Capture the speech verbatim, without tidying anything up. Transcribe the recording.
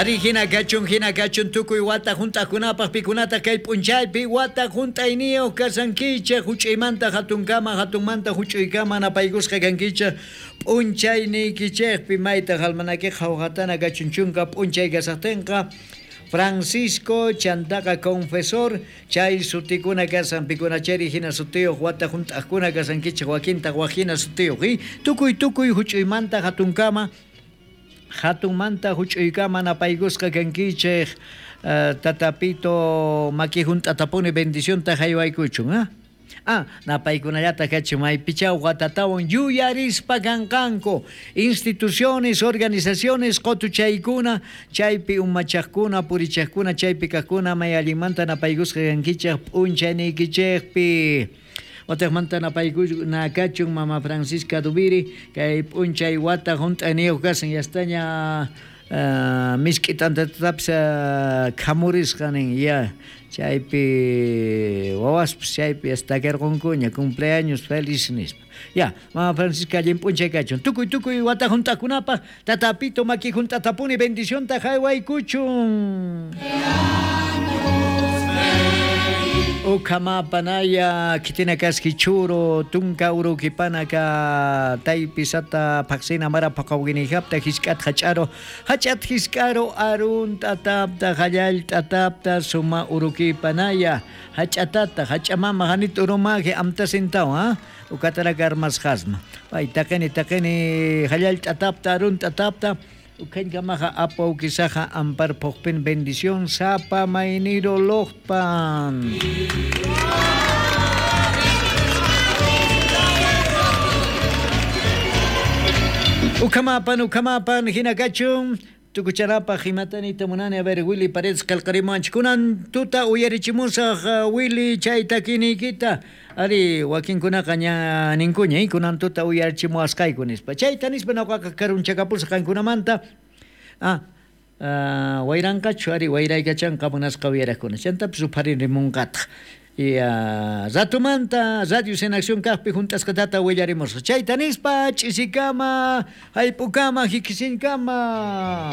Ari hina kachun hina kachun tukuy wata hunt'aqkunapaq pikunataq kay p'unchaypi wata hunt'ayniyuq kasankichej huch'uymanta hatunkama hatunmanta huch'uykama napaykusqa kankichej p'unchayniykichejpi maytaq almanakiqa hawqatana kachun chunka p'unchay kasaqtinqa Francisco chantaqa confesor chay sutikuna kasan pikunachari hina sutiyuq wata hunt'aqkuna kasankichej wakintaq wak hina sutiyuq y tukuy tukuy huch'uymanta hatunkama hatunmanta huch'uykama napaykusqa kankichej uh, tatapito maki hunt'atapuni bendicionta haywaykuchun ah Ah, napaykunallata kachi maypichaw watatawan yuyarispa kanqanku instituciones, organizaciones qotuchaykuna chaypi umachaqkuna purichaqkuna chaypi kaqkuna may allinmanta napaykusqa kankichej p'unchayniykichejpi Otaqmanta napaykuna kachun mama Francisca Dubiri kay p'unchay wata hunt'ayniyuq kasan yastaña uh, misk'i t'antatapis uh, khamurisqa nin ya chaypi wawaspis chaypi yastakarqunkuña cumpleaños feliz nispa ya mama Francisca allin p'unchay kachun tukuy tukuy wata hunt'akunapaq tatapito maki hunt'atapuni bendicionta haywaykuchun. Ukamapanaya kitina kaski churo tunka urukipanaka taypisata paqsina mara paqawginijapta hisk'at hach'aro hach'at hisk'aro arun t'atapta hallal t'atapta suma urukipanaya hach'atata hach'amama hanit urumaje amtasintaw ha ukataraka armasqasma pay taqini taqini hallal t'atapta arun t'atapta Ukhankamaqa apawkisaqa amparpuqpin bendición sapa mayniro loqpan. Ukamapan ukamapan hinakachun tukuchanapaq imatanita munani a ver Willy Paredes qillqarimuwanchik kunan tuta uyarichimusaq uh, Willy chay takiniykita ari wakinkunaqa ña ninkuña eh, kunan tuta uyarichimuwasqayku nispa chayta nispa ñuqaqa karunchakapusaq qankunamanta ah uh, wayranqachu ari wayraykachanqa munasqa uyaraqkuna chantapis upharirimunqataq y uh, ratumanta Radios en Acción kaqpi hunt'asqatata willarimusaq chayta nispa ch'isikama hayp'ukama hikisinkama.